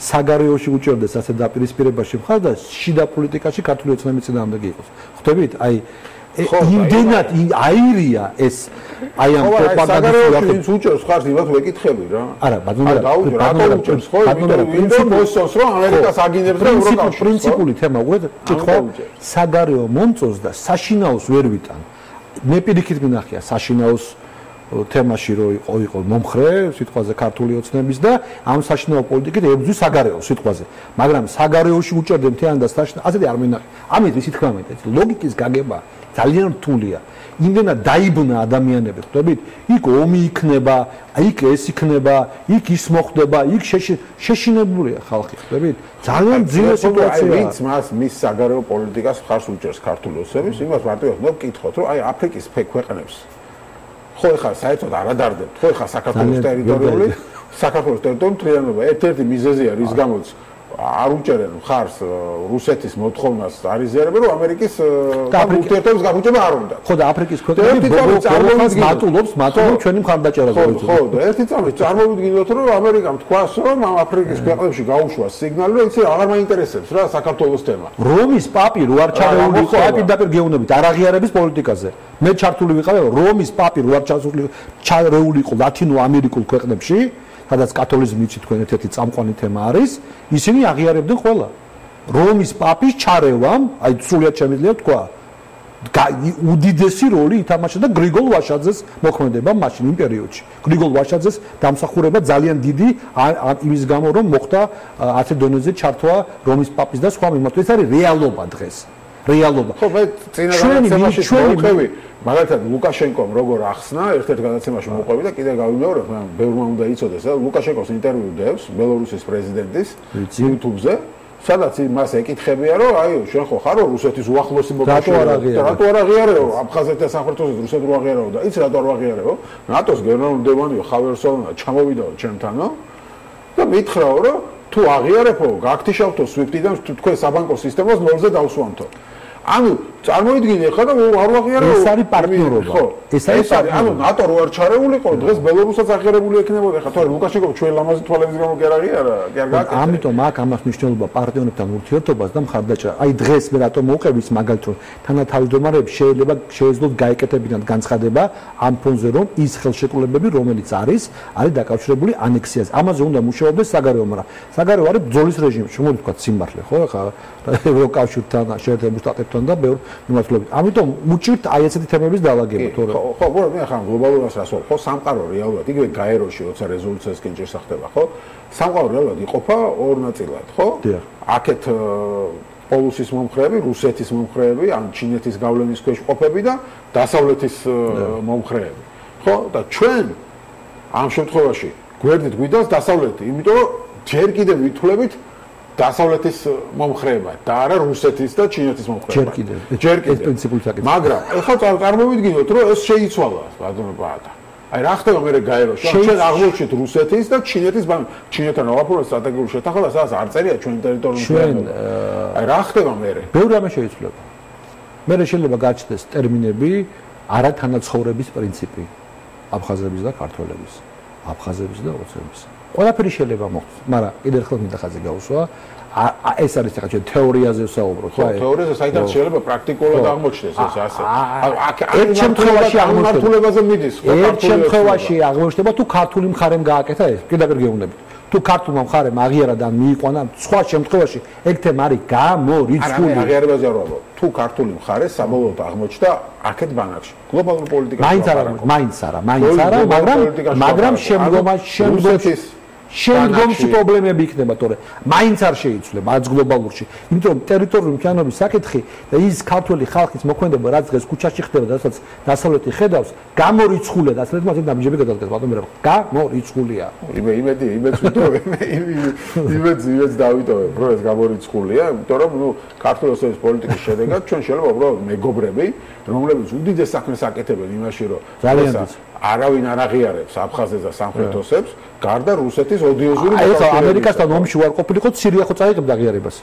საგარეოში უჭერდეს ასე დაპირისპირებაში მხარ და შიდა პოლიტიკაში ქართული ოცნების წინააღმდეგი იყოს. ხვდებით? აი იმდენად აირია ეს აი ამ პროპაგანდას უჭერს ხარ იმათ ვეკითხები რა. არა, ბატონო უჭერს ხო? იმიტომ მოსწონს რომ ამერიკას აგინებს და ევროკავშირს. პრინციპული თემა უყურეთ, კითხვა საგარეო მომწონს და საშინაოს ვერ ვიტან. მე პირიქით მინახია საშინაოს თემაში რო იყო მომხრე სიტყვაზე ქართული ოცნების და ამ საშინაო პოლიტიკით ებრძვის საგარეო სიტყვაზე. მაგრამ საგარეოში უჭერდე მთლიანად და საშინაო ასეთი არ მინახე. ამით ისი თქმა უნდა, ლოგიკის გაგება ძალიან რთულია. იმდენად დაიბნა ადამიანები, ხვდებით? იქ ომი იქნება, იქ ეს იქნება, იქ ის მოხდება, იქ შეშინებულია ხალხი, ხვდებით? ძალიან ძლიერი სიტუაცია. ვინც მას მის საგარეო პოლიტიკას მხარს უჭერს ქართული ოცნების, იმას მარტივად მოგკითხოთ, რომ აი აფრიკის ქვეყნებს ხო ეხლა საერთოდ არ ადარდებთ, ხო ეხლა საქართველოს ტერიტორიული მთლიანობა ერთ-ერთი მიზეზია, რის გამოც არ უჭერენ მხარს რუსეთის მოთხოვნას არიზერებენ, რომ ამერიკის ურთიერთობების გაგუჭება არ უნდა. ხო და აფრიკის ქვეყნები მატულობს ჩვენი მხარდაჭერაზე. ხო და ერთი წამით წარმოვიდგინოთ, რომ ამერიკამ თქვას, რომ ამ აფრიკის ქვეყნებში გაუშვა სიგნალი, რომ იცი აღარ მაინტერესებს რა საქართველოს თემა. რომის პაპი რო არ ჩარეული იყო აი პირდაპირ გეუბნებით არაღიარების პოლიტიკაზე. მე ჩართული ვიყავი, რომის პაპი რო არ ჩარეული იყო ლათინო ამერიკულ ქვეყნებში. სადაც კათოლიციზმი იცით თქვენ ერთ-ერთი წამყვანი თემა არის, ისინი აღიარებდნენ ყველა. რომის პაპის ჩარევამ, აი სრულიად შემიძლია თქვა, უდიდესი როლი ითამაშა და გრიგოლ ვაშაძეს მოქმედება მაშინ იმ პერიოდში. გრიგოლ ვაშაძეს დამსახურება ძალიან დიდი იმის გამო, რომ მოხდა ასე დონეზე ჩართვა რომის პაპის და სხვა მიმართულებით. ეს არის რეალობა დღეს. რეალობა. ხო, მე წინა გადაცემაში მოვყვები, მაგალითად ლუკაშენკომ როგორ ახსნა, ერთ-ერთ გადაცემაში მოვყვები და კიდე გავიმეორებ, მაგრამ ბევრმა უნდა იცოდეს, რომ ლუკაშენკოს ინტერვიუ დევს ბელორუსის პრეზიდენტის YouTube-ზე, სადაც მას ეკითხებია, რომ აი, შენ ხო ხარო რუსეთის უახლოესი მოკავშირე, რატო არ აღიარეო აფხაზეთთან სამხრეთოსეთ რუსეთს რო აღიარეო და იცი რატო არ აღიარეო? ნატოს გენერალური მდივანია ხავერსოვნა ჩამოვიდაო ჩემთანო და მითხრაო, რომ თუ აღიარებო, გაგთიშავთო SWIFT-დან თქვენ საბანკო სისტემას ნოლზე დავსვამთო. ანუ წარმოიდგინე ხა და არ აღიარებო. ეს არის პარტნიორობა. ხო, ეს არის ანუ ნატო რო არ ჩარეულიყო, დღეს ბელორუსსაც აღიარებული ექნებოდა. ხა თორე ლუკაშენკო ჩვენ ლამაზი თვალების გამო კი არ აღიარა, კი არ გააკეთა. ამიტომ აქ ამას მნიშვნელობა პარტნიორებთან ურთიერთობას და მხარდაჭერა. აი დღეს მე რატომ მოვყევით მაგალითად, რომ თანათავმჯდომარეები შეეძლოთ გაეკეთებინათ განცხადება ამ ფონზე, რომ ის ხელშეკრულებები, რომელიც არის დაკავშირებული ანექსიაზე. ამაზე უნდა მუშაობდეს საგარეო, მაგრამ საგარეო არის ბრძოლის რეჟიმი, შემოვთქვათ სიმართლე, ხო, ხა ევროკავშირთან, შეერთებულ შტატებთან და ბევრ მიმართულებით. ამიტომ უჭირთ აი ესეთი თემების დალაგება, თორე ხო, მე ახლა გლობალურას რას ვარ, ხო, სამყარო რეალურად, იგივე გაეროში, როცა რეზოლუციასკენ ჭირს ხდება, ხო? სამყარო რეალურად იყოფა ორ ნაწილად, ხო? აქეთ პოლუსის მომხრეები, რუსეთის მომხრეები, ან ჩინეთის გავლენის ქვეშ ყოფები და დასავლეთის მომხრეები. ხო? და ჩვენ ამ შემთხვევაში გვერდით გვიდას დასავლეთი, იმიტომ რომ ჯერ კიდევ ვითვლებით დასავლეთის მომხრეება და არა რუსეთის და ჩინეთის მომხრეება. ჯერ კიდევ. ეს პრინციპული საკითხია. მაგრამ ეხლა წარმოვიდგინოთ, რომ ეს შეიცვალა, ბატონო ბაატა. აი რა ხდება მე გაეროში? ჩვენ აღმოჩნდით რუსეთის და ჩინეთის ჩინეთთან ვაფორმებთ სტრატეგიულ შეთანხმებას, სადაც არ წერია ჩვენ ტერიტორიული. აი რა ხდება მე? ბევრი რამე შეიცვლება. მე შეიძლება გაჩნდეს ტერმინები არათანაცხოვრების პრინციპი აფხაზების და ქართველების, აფხაზების და ოცნების. ყველაფერი შეიძლება მოხდეს, მაგრამ კიდევ ერთხელ მინდა ხაზი გაუსვა. ეს არის ახლა ჩვენ თეორიაზე ვსაუბრობთ, ხო? თეორიაზე საერთოდ შეიძლება პრაქტიკულად აღმოჩნდეს ეს ასე. ერთ შემთხვევაში აღმართულებაზე მიდის, ხო? ერთ შემთხვევაში აღმოჩნდება თუ ქართული მხარემ გააკეთა ეს, პირდაპირ გეუბნებით. თუ ქართულმა მხარემ აღიარა და მიიყვანა, სხვა შემთხვევაში ეგ თემა არის გამორიცხული. არა, აღიარებაზე არ ვაბო. თუ ქართული მხარე საბოლოოდ აღმოჩნდა აქეთ ბანაკში. გლობალურ პოლიტიკაში მაინც არა, მაგრამ შემდგომში პრობლემები იქნება, თორე მაინც არ შეიცვლება არც გლობალურში. იმიტომ რომ ტერიტორიული მთლიანობის საკითხი და ის ქართული ხალხის მოქმედება, რაც დღეს ქუჩაში ხდება, რასაც დასავლეთი ხედავს, გამორიცხულია და ასეთ მასე დამჯები გადადგეს, ბატონო, გამორიცხულია. იმედს ვიტოვებ, იმედს დავიტოვებ, რომ ეს გამორიცხულია, იმიტომ რომ ქართული ოცნების პოლიტიკის შედეგად ჩვენ შეიძლება უბრალოდ მეგობრები, რომლებიც უდიდეს საქმეს აკეთებენ იმაში, რომ არავინ არ აღიარებს აფხაზეთს და სამხრეთოსებს, გარდა რუსეთის ოდიოზური ეხლა ამერიკასთან ომში ვარ ყოფილიყო, სირია ხო წაიღებდა აღიარებას?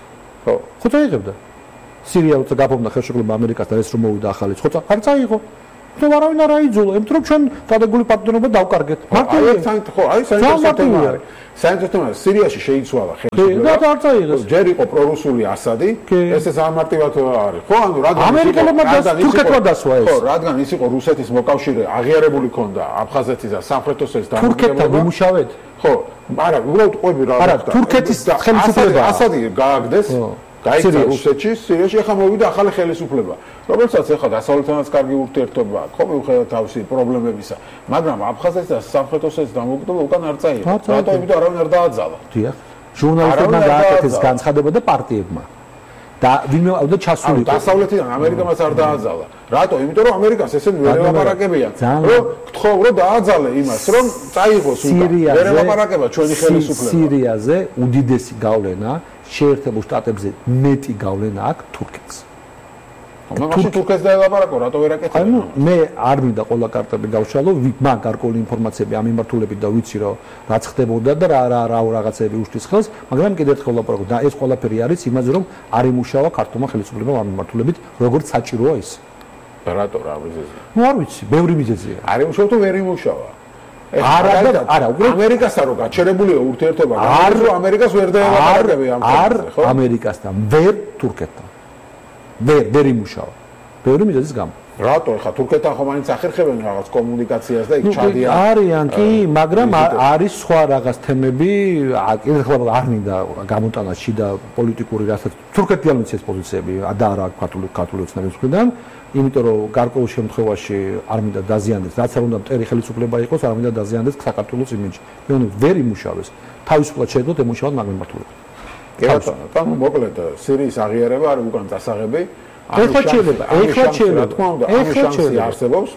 ხო წაიღებდა. სირია როცა გაფორმდა ხელშეკრულება ამერიკასთან ეს რომ მოვიდა ახალიც, ხო არ წაიღო. თუ არავინ არ აიძულა, იმიტომ რომ ჩვენ დადებული პარტნიორობა დავკარგეთ. მარტივია. ხო, აი საინტერესო თემაა. საინტერესო თემაა, სირიაში შეიცვალა ხელისუფლება. და არ წაიღეს. ჯერ იყო პრორუსული ასადი, ესე სამარტივად არის. ხო, ანუ რადგან ამერიკელებმა თურქეთმა დასვა ეს. ხო, რადგან ის იყო რუსეთის მოკავშირე, აღიარებული ქონდა აფხაზეთის და სამხრეთ ოსეთის დამოუკიდებლობა. თურქეთთან იმუშავეთ? ხო, არა, უბრალოდ ყვები რა. არა, თურქეთის ხელისუფლება ასადი გააგდეს. გაიქცა რუსეთში, სირიაში ახლა მოვიდა ახალი ხელისუფლება. რომელსაც ახლა დასავლეთთანაც კარგი ურთიერთობა აქვს, ხო მიუხედავად თავისი პრობლემებისა, მაგრამ აფხაზეთის და სამხრეთ ოსეთის დამოუკიდებლობა უკან არ წაიღო. რატო? იმიტომ არავინ არ დააძალა. დიახ. ჟურნალისტებმა გააკეთეს განცხადება და პარტიებმა. და ვინმე ავდა ჩასული. დასავლეთიდან ამერიკამაც არ დააძალა. რატო? იმიტომ რომ ამერიკას ესენი ვერ ელაპარაკებიან. რომ გთხოვ რომ დააძალე იმას, რომ წაიღოს უკან. ვერ ელაპარაკება ჩვენი ხელისუფლება. სირიაზე უდიდესი გავლენა შეერთებულ შტატებზე მეტი გავლენა აქვს თურქეთს. მაშინ თურქეთს დაელაპარაკო, რატო ვერ აკეთებ? ანუ მე არ მინდა ყველა კარტები გავშალო, მაგ გარკვეული ინფორმაციები ამ მიმართულებით და ვიცი რომ რაც ხდებოდა და რა რაღაცები უშლის ხელს, მაგრამ კიდევ ერთხელ ვლაპარაკობ და ეს ყველაფერი არის იმაზე რომ არ იმუშავა ქართულმა ხელისუფლებამ ამ მიმართულებით, როგორც საჭიროა ის. რატო რა მიზეზია? ნუ არ ვიცი, ბევრი მიზეზია. არ იმუშავა თუ ვერ იმუშავა? არა, უბრალოდ ამერიკასთან რო გაჩერებულია ურთიერთობა, არ რომ ამერიკას ვერ დაელაპარაკები ამ თემაზე, ხო? ამერიკასთან, ვერ თურქეთთან. ვერ იმუშავა. ბევრი მიზეზის გამო. რატო ხა თურქეთთან ხომ მაინც ახერხებენ რაღაც კომუნიკაციას და იქ ჩადიან? არიან კი, მაგრამ არის სხვა რაღაც თემები, კიდევ არ მინდა გამოტანა შიდა პოლიტიკური რასაც თურქეთი არ მიცეს პოზიციები და არა ქართული ოცნების მხრიდან, იმიტომ რომ გარკვეულ შემთხვევაში არ მინდა დაზიანდეს, რაც არ უნდა მტერი ხელისუფლება იყოს, არ მინდა დაზიანდეს საქართველოს იმიჯი. მე უნდა ვერ იმუშავეს. თავისუფლად შეედოთ ემუშავოთ მაგ მიმართულებით. კი ბატონო, მოკლედ სირიის აღიარება არის უკან წასაღები. ეხლა შეიძლება. რა თქმა უნდა, ამ შანსი არსებობს,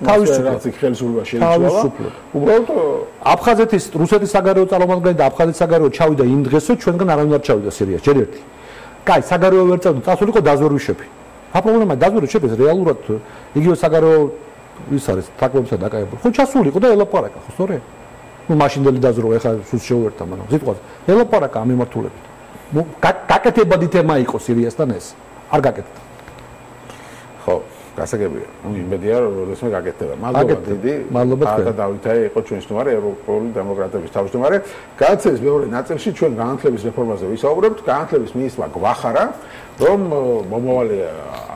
რაც იქ ხელისუფლება შეიცვალა. უბრალოდ აფხაზეთის, რუსეთის საგარეო წარმომადგენელი და აფხაზეთის საგარეო ჩავიდა იმ დღესო, ჩვენგან არავინ არ ჩავიდა სირიაში, ჯერ ერთი. კაი, საგარეო ვერ წავიდა, წასულიყო დაზვერვის. რა პრობლემაა დაზვერვის შეფეს რეალურად იგივე საგარეო ის არის, თაგვებსა დაკავებული. ხო ჩასულიყო და ელაპარაკა, ხო სწორია? ნუ მაშინდელი დაზვერვა ეხლა სულ შეუერთდა, მაგრამ სიტყვაზე ელაპარაკა ამ მიმართულებით. გაკეთებადი თემა იყო სირიასთან ეს. არ გაკეთდა. ხო, გასაგებია. ნუ იმედია რომ როდესმე გაკეთდება. მადლობა დიდი. მადლობა თქვენ. და დავითაი იყო ჩვენი სტუმარი, ევროპული დემოკრატების თავმჯდომარე. განაცეს მეორე ნაწილში ჩვენ განათლების რეფორმაზე ვისაუბრებთ. განათლების მინისტრმა გვახარა, რომ მომავალი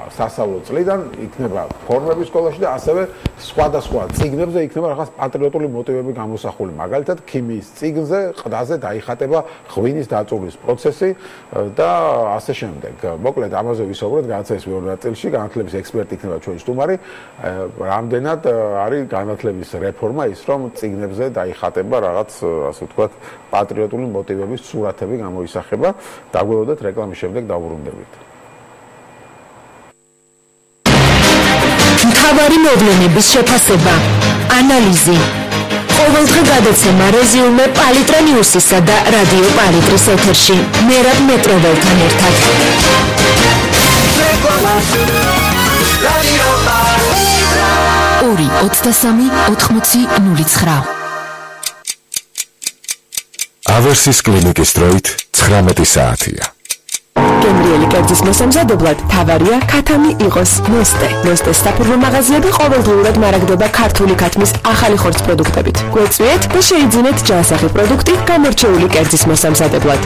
სასწავლო წლიდან იქნება ფორმები სკოლაში და ასევე სხვადასხვა წიგნებზე იქნება რაღაც პატრიოტული მოტივები გამოსახული. მაგალითად, ქიმიის წიგნზე ყდაზე დაიხატება ღვინის დაწუვრის პროცესი და ასე შემდეგ. მოკლედ ამაზე ვისაუბრეთ განათლების მეორე ნაწილში. განათლების ექსპერტი იქნება ჩვენი სტუმარი. რამდენად არის განათლების რეფორმა ის, რომ წიგნებზე დაიხატება რაღაც, ასე ვთქვათ, პატრიოტული მოტივების სურათები გამოისახება. დაგველოდეთ რეკლამის შემდეგ დავბრუნდებით. მთავარი მოვლენების შეფასება, ანალიზი, ყოველდღე გადაცემა რეზიუმე პალიტრა ნიუსისა და რადიო პალიტრის ეთერში. მერაბ მეტროველთან ერთად. ორი 23 80 09. ავერსის კლინიკის დროით 19 საათია. გემრიელი კერძის მოსამზადებლად თავარია ქათამი იყოს ნოსტეს საფურმო მაღაზიები ყოველდღიურად მარაგდება ქართული ქათმის ახალი ხორცს პროდუქტებით. გვეწვიეთ და შეიძინეთ ჯანსაღი პროდუქტი გამორჩეული კერძის მოსამზადებლად.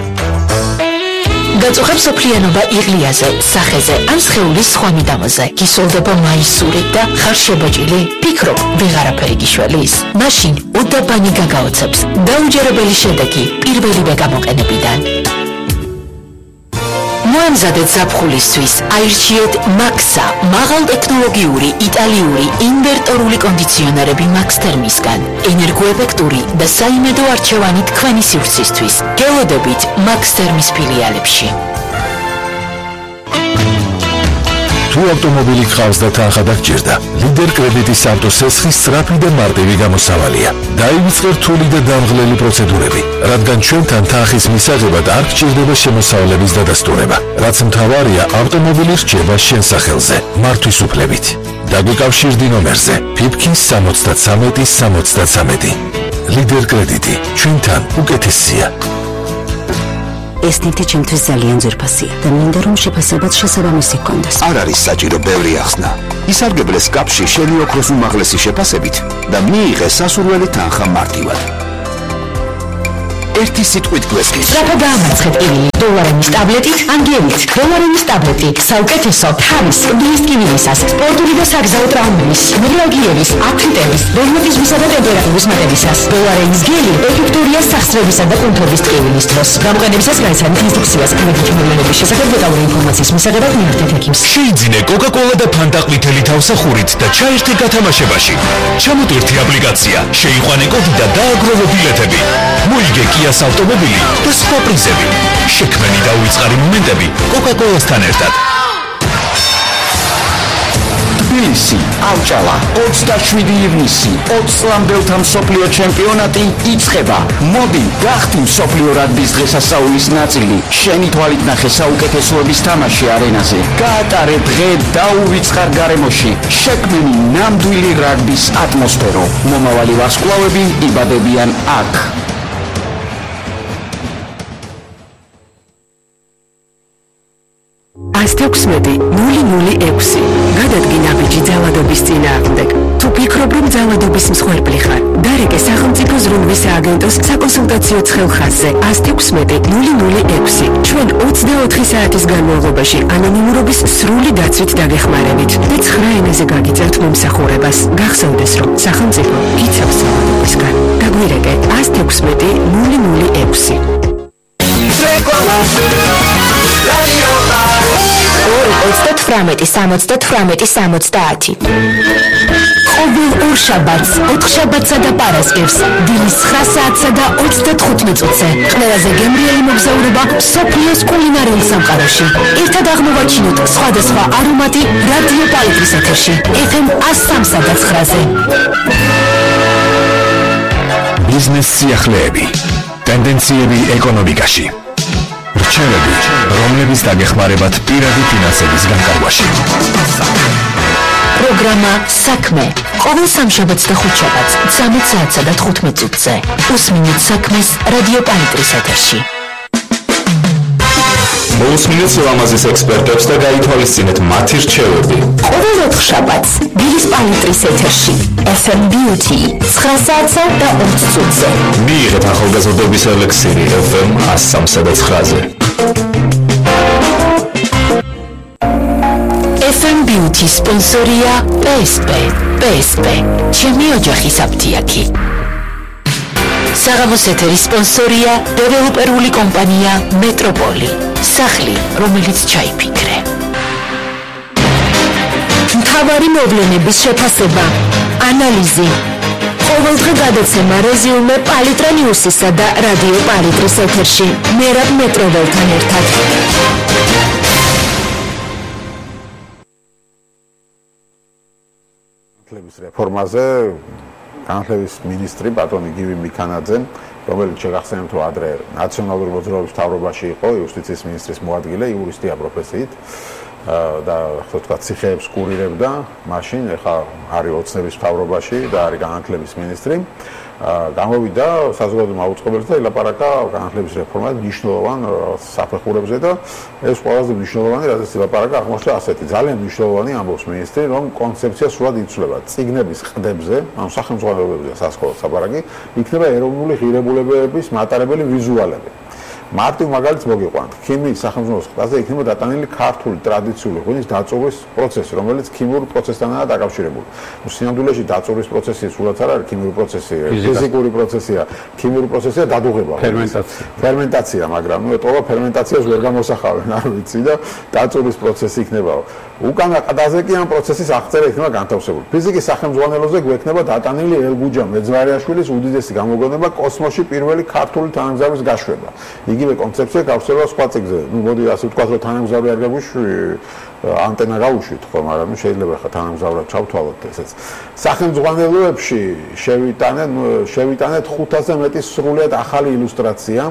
გაწუხებს სოფლიანობა იღლიაზე, სახეზე ან სხეულის სხვა მიდამოზე. გისოლდება მაისური და ხარ შებაჭილი? ფიქრობ, ვეღარაფერი გიშველის? მაშინ უდაბანი გაგაოცებს. დაუჯერებელი შედეგი პირველივე გამოყენებიდან. მოამზადეთ ზაფხულისთვის, აირჩიეთ მაქსა, მაღალტექნოლოგიური იტალიური ინვერტორული კონდიციონერები მაქს თერმისგან, ენერგოეფექტური და საიმედო არჩევანი თქვენი სივრცისთვის. გელოდებით მაქს თერმის ფილიალებში. თუ ავტომობილი გყავს და თანხა დაგჭირდა, ლიდერ კრედიტის ავტოსესხის სწრაფი და მარტივი გამოსავალია. დაივიწყე რთული და დამღლელი პროცედურები, რადგან ჩვენთან თანხის მისაღებად არ გჭირდება შემოსავლების დადასტურება. რაც მთავარია, ავტომობილი რჩება შენ სახელზე, მართვის უფლებით. დაგვიკავშირდი ნომერზე ფიფქის 73 ლიდერ კრედიტი, ჩვენთან უკეთესია. ეს ნივთი ჩემთვის ძალიან ძვირფასია და მინდა რომ შეფასებაც შესაბამისი გქონდეს. არ არის საჭირო ბევრი ახსნა. ისარგებლეს კაპში შენი ოქროს უმაღლესი შეფასებით და მიიღეს სასურველი თანხა მარტივად. ერთი სიტყვით გვესმის. სწრაფად გაამარცხეთ კივილი დოლარენის ტაბლეტით, ან გელით. დოლარენის ტაბლეტი საუკეთესო თავის კლდის კივილისას, სპორტული და საგზაო ტრაუმების, ნევრალგიების, აფრიტების, რევმატიზმისა და ტემპერატურის მატებისას. დოლარენის გელი ეფექტურია სახსრებისა და კუნთობის ტკივილის დროს. გამოყენებისას გაიცანით ინსტრუქციას კრედიტ მოვლენების შესახებ დეტალური ინფორმაციის მისაღებად მიართეთ ექიმს. შეიძინე კოკა-კოლა და ფანტა ყვითელი თავსახურით და ჩაერთე გათამაშებაში. ჩამოტვირთი აპლიკაცია, შეიყვანე კოდი და დააგროვე ბილეთები. მოიგე კიას ავტომობილი და სხვა პრიზები. შექმენი და უიწყარი მომენტები კოკა-კოლასთან ერთად. თბილისი, ავჭალა, 27 ივნისი, 20 წლამდელთა მსოფლიო ჩემპიონატი იწყება. მოდი, გახდი მსოფლიო რაგბის დღესასწაულის ნაწილი. შენი თვალით ნახე საუკეთესოების თამაში არენაზე. გაატარე დღე დაუვიწყარ გარემოში. შექმენი ნამდვილი რაგბის ატმოსფერო. მომავალი ვარსკვლავები იბადებიან აქ. AS16 006 გადადგინა ბიჭი ძალადობის წინააღმდეგ. თუ ფიქრობ რომ ძალადობის მსხვერპლი ხარ, დარეკე სახელმწიფო ზრუნვის სააგენტოს საკონსულტაციო ცხელხაზზე AS16 006. ჩვენ 24 საათის განმავლობაში ანონიმურობის სრული დაცვით დაგეხმარებით და 9 ენაზე გაგიწევთ მომსახურებას. გახსოვდეს რომ სახელმწიფო გიცავს ძალადობისგან. დაგვირეკე AS16 006. 2-38-70-70. ყოველ ორ შაბათს, 4 შაბათსა და პარასკევს, დილის 9 საათსა და 35 წუთზე. ყველაზე გემრიელი მოგზაურობა მსოფლიოს კულინარიულ სამყაროში. ერთად აღმოვაჩინოთ სხვადასხვა არომატი რადიო პალიტრის ეთერში. FM 103-სა და 9-ზე. ბიზნეს სიახლეები, ტენდენციები ეკონომიკაში. რჩევები, რომლებიც დაგეხმარებათ პირადი ფინანსების განკარგვაში. პროგრამა საქმე. ყოველ სამშაბათს და ხუთშაბათს 13 საათსა და 15 წუთზე. უსმინეთ საქმეს რადიო პალიტრის ეთერში. მოусმინეთ სილამაზის ექსპერტებს და გაითვალისწინეთ მათი რჩევები. ყოველ 4 შაბათს დილის პალიტრის ეთერში. FM Beauty 9 საათსა და 20 წუთზე. მიიღეთ ახალგაზრდობის ელექსირი FM 103-სა და 9-ზე. FM Beauty სპონსორია PSP. PSP. ჩემი ოჯახის აფთიაქი. საღამოს ეთერის სპონსორია დეველოპერული კომპანია მეტროპოლი. სახლი, რომელიც ჩაიფიქრე. მთავარი მოვლენების შეფასება, ანალიზი. ყოველდღე გადაცემა რეზიუმე პალიტრა ნიუსისა და რადიო პალიტრის ეთერში. მერაბ მეტროველთან ერთად. განათლების რეფორმაზე განათლების მინისტრი ბატონი გივი მიქანაძე, რომელიც შეგახსენებთ რომ ადრე ნაციონალური მოძრაობის მთავრობაში იყო, იუსტიციის მინისტრის მოადგილე, იურისტია პროფესიით და ასე ვთქვათ, ციხეებს კურირებდა, მაშინ ეხლა არის ოცნების მთავრობაში და არის განათლების მინისტრი. გამოვიდა საზოგადო მაუწყებელს და ილაპარაკა განათლების რეფორმაზე მნიშვნელოვან საფეხურებზე და ეს ყველაზე მნიშვნელოვანი, რადგან ილაპარაკა აღმოჩნდა ასეთი ძალიან მნიშვნელოვანი ამბობს მინისტრი, რომ კონცეფცია სრულად იცვლება წიგნების ყდებზე, ანუ სახელმძღვანელოებზე სასკოლო საპარაკი, იქნება ეროვნული ღირებულებების მატარებელი ვიზუალები. მარტივ მაგალითს მოგიყვანთ. ქიმიის სახელმძღვანელოს ყდაზე იქნება დატანილი ქართული ტრადიციული ღვინის დაწურვის პროცესი, რომელიც ქიმიურ პროცესთანაა დაკავშირებული. სინამდვილეში დაწურვის პროცესი სულაც არ არის ქიმიური პროცესი, ფიზიკური პროცესია, ქიმიური პროცესია დადუღება. ფერმენტაცია, მაგრამ ეტყობა ფერმენტაციას ვერ გამოსახავენ, არ ვიცი და დაწურვის პროცესი იქნება. უკანა ყდაზე კი ამ პროცესის აღწერა იქნება განთავსებული. ფიზიკის სახელმძღვანელოზე გვექნება დატანილი ელგუჯა მეძვარიაშვილის უდიდესი გამოგონება კოსმოსში პირველი ქართული თანამგზავრის გაშვება. იგივე კონცეფცია გავრცელება სხვა წიგნზე. მოდი ასე ვთქვათ, რომ თანამგზავრი არ გაგვიშვი, ანტენა გავუშვით ხო, მაგრამ შეიძლება ხა თანამგზავრად ჩავთვალოთ ესეც. სახელმძღვანელოებში შევიტანეთ 500-ზე მეტი სრულიად ახალი ილუსტრაცია,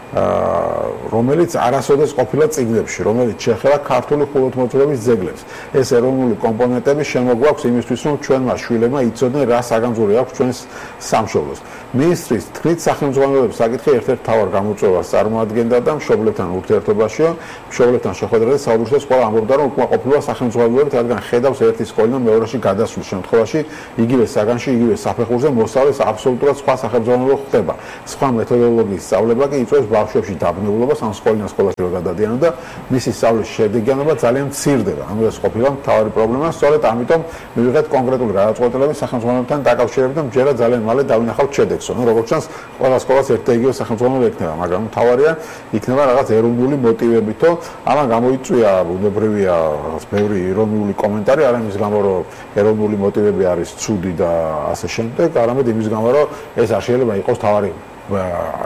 რომელიც არასოდეს ყოფილა წიგნებში, რომელიც შეეხება ქართული ხუროთმოძღვრების ძეგლებს. ეს ეროვნული კომპონენტები შემოგვაქვს იმისთვის, რომ ჩვენმა შვილებმა იცოდნენ რა საგანძური აქვს ჩვენს სამშობლოს. მინისტრის თქმით, სახელმძღვანელოების საკითხი ერთ-ერთ მთავარ გამოწვევას წარმოადგენდა და მშობლებთან ურთიერთობაშიო, მშობლებთან შეხვედრაზე საუბრისას ყველა ამბობდა, რომ უკმაყოფილება სახელმძღვანელოებით, რადგან ხედავს ერთი სკოლიდან მეორეში გადასვლის შემთხვევაში, იგივე საგანში, იგივე საფეხურზე მოსწავლეს აბსოლუტურად სხვა სახელმძღვანელო ხდება. სხვა მეთოდოლოგიის სწავლება კი იწვევს ბავშვებში დაბნეულობას, ან სკოლიდან სკოლაში რომ გადადიანონ და მისი სწავლის შედეგიანობა ძალიან მცირდება. ანუ ეს ყოფილა მთავარი პრობლემა, სწორედ ამიტომ მივიღეთ კონკრეტული გადაწყვეტილების სახელმძღვანელოებთან დაკავშირებით და მჯერა ძალიან მალე დავინახავთ შედეგს. ნუ როგორც ჩანს, ყველა სკოლას ერთ და იგივე სახელმძღვანელო ექნება, მაგრამ მთავარია იქნება რაღაც ეროვნული მოტივებითო, ამან გამოიწვია ბუნებრივია რაღაც ბევრი ირონიული კომენტარი, არა იმის გამო, რომ ეროვნული მოტივები არის ცუდი და ასე შემდეგ, არამედ იმის გამო, რომ ეს არ შეიძლება იყოს თავარი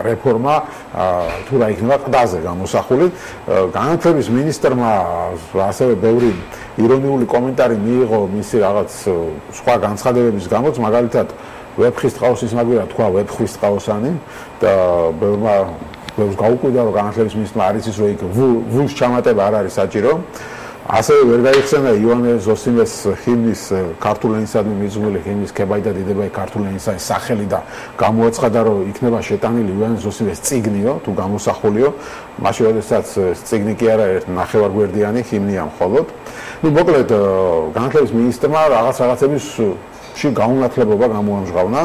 რეფორმა თუ რა იქნება ყდაზე გამოსახული. განათლების მინისტრმა ასევე ბევრი ირონიული კომენტარი მიიღო მისი რაღაც სხვა განცხადებების გამოც, მაგალითად ვეფხის ტყაოსის მაგვირა თქვა ვეფხვის ტყაოსანი და ბევრს გაუკვირდა, რომ განათლების მინისტრმა არ იცის, რომ იქ ვულს ჩამატება არ არის საჭირო. ასევე ვერ გაიხსენა ივანე ზოსიმეს ჰიმნის ქართული ენისადმი მიძღვნილი ჰიმნის ქებაი და დიდებაი ქართული ენისა სახელი და გამოაცხადა, რომ იქნება შეტანილი ივანე ზოსიმეს წიგნიო თუ გამოსახულიო, მაშინ როდესაც წიგნი კი არა ერთ ნახევარგვერდიანი ჰიმნია მხოლოდ. ნუ მოკლედ განათლების მინისტრმა რაღაცების გაუნათლებობა გამოამჟღავნა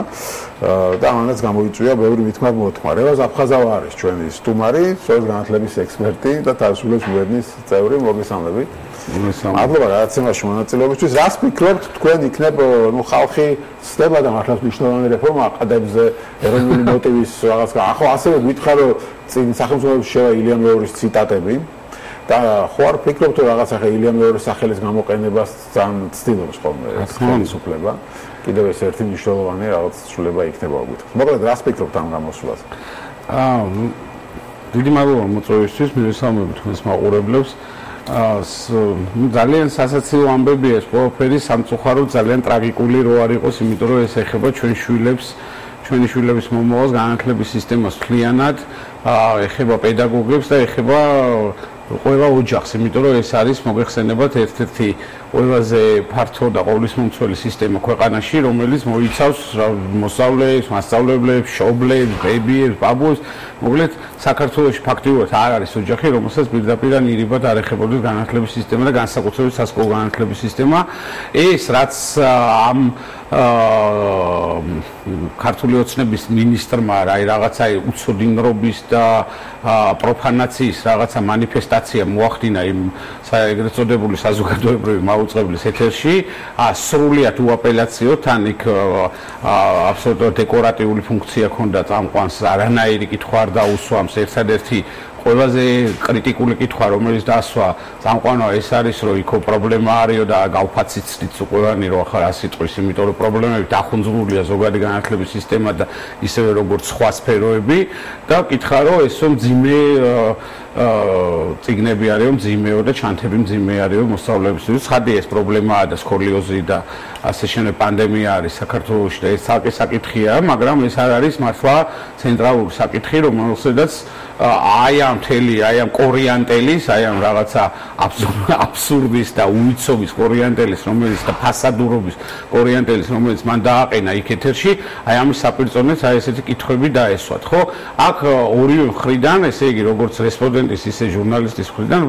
და ამანაც გამოიწვია ბევრი მithmar მოთქმა. რევაზ აფხაზავა არის ჩვენი სტუმარი, სწორედ განათლების ექსპერტი და თავისუფლების გვერდნის წევრი. მოგესალმებით. მადლობა გადაცემაში მონაწილეობისთვის. რას ფიქრობთ თქვენ იქნებ, ნუ ხალხი ცდება და მართლაც მნიშვნელოვანი რეფორმა აყადებს ეროვნული მოტივის რაღაც. ახლა ასევე გითხარ, რომ წინ სახელმწიფოების შევა ილია მეორის ციტატები და ხო არ ფიქრობთ, რომ რაღაც ახლა ილია მეორის სახელის გამოყენებას ძალიან ცდილობს ხოლმე ხელისუფლება. კიდევ ეს ერთი მნიშვნელოვანი რაღაც ცვლილება იქნება უგითხრით. მოკლედ რას ფიქრობთ ამ გამოსვლაზე? დიდი მადლობა მოწვევისთვის, მივესალმებით თქვენს მაყურებლებს. ძალიან სასაცილო ამბებია ეს ყველაფერი, სამწუხაროდ ძალიან ტრაგიკული რო არ იყოს, იმიტომ რომ ეს ეხება ჩვენი შვილების მომავალს, განათლების სისტემას მთლიანად, ეხება პედაგოგებს და ეხება ყველა ოჯახს, იმიტომ რომ ეს არის მოგეხსენებათ ერთ-ერთი ყველაზე ფართო და ყოვლისმომცველი სისტემა ქვეყანაში, რომელიც მოიცავს მოსწავლეებს, მასწავლებლებს, მშობლებს, ბებიებს, ბაბუებს. მოკლედ საქართველოში ფაქტიურად არ არის ოჯახი, რომელსაც პირდაპირ ნირიბად არ ეხებოდეს განათლების სისტემა და განსაკუთრებით სასკოლო განათლების სისტემა. ეს რაც ამ ქართული ოცნების მინისტრმა რაღაცა უცოდინრობის და პროფანაციის რაღაცა მანიფესტაცია მოახდინა იმ ეგრეთ წოდებული საზოგადოებრივი მაუწყებლის ეთერში, სრულიად უაპელაციოდ, თან იქ აბსოლუტურად დეკორატიული ფუნქცია ჰქონდა წამყვანს, არანაირი კითხვა არ დაუსვამს. ერთადერთი ყველაზე კრიტიკული კითხვა, რომელიც დაასვა წამყვანმა, ეს არის, რომ იქო პრობლემა არისო და გავფაციცდით ყველანი, რომ ახლა რა სიტყვის, იმიტომ რომ პრობლემები დახუნძურულია ზოგადი განათლების სისტემა და ისევე როგორც სხვა სფეროები და კითხა, რომ ესო მძიმე წიგნები არისო, მძიმეო და ჩანთები მძიმე არისო მოსწავლეებისთვის. ხარდი ეს პრობლემაა და სკოლიოზი და ასე შემდეგ პანდემია არის საქართველოში და ეს ცალკე საკითხია, მაგრამ ეს არ არის მართლა ცენტრალური საკითხი, რომელსაც აი ამ კორიანტელის, აი ამ რაღაცა აბსურდის და უიცობის კორიანტელის, რომელიც და ფასადურობის კორიანტელის, რომელიც მან დააყენა იქ ეთერში, აი ამის საპირწონეს აი ესეთი კითხვები დაესვათ, ხო? აქ ორივე მხრიდან, ესე იგი, როგორც რესპონდენტის, ისე ჟურნალისტის მხრიდან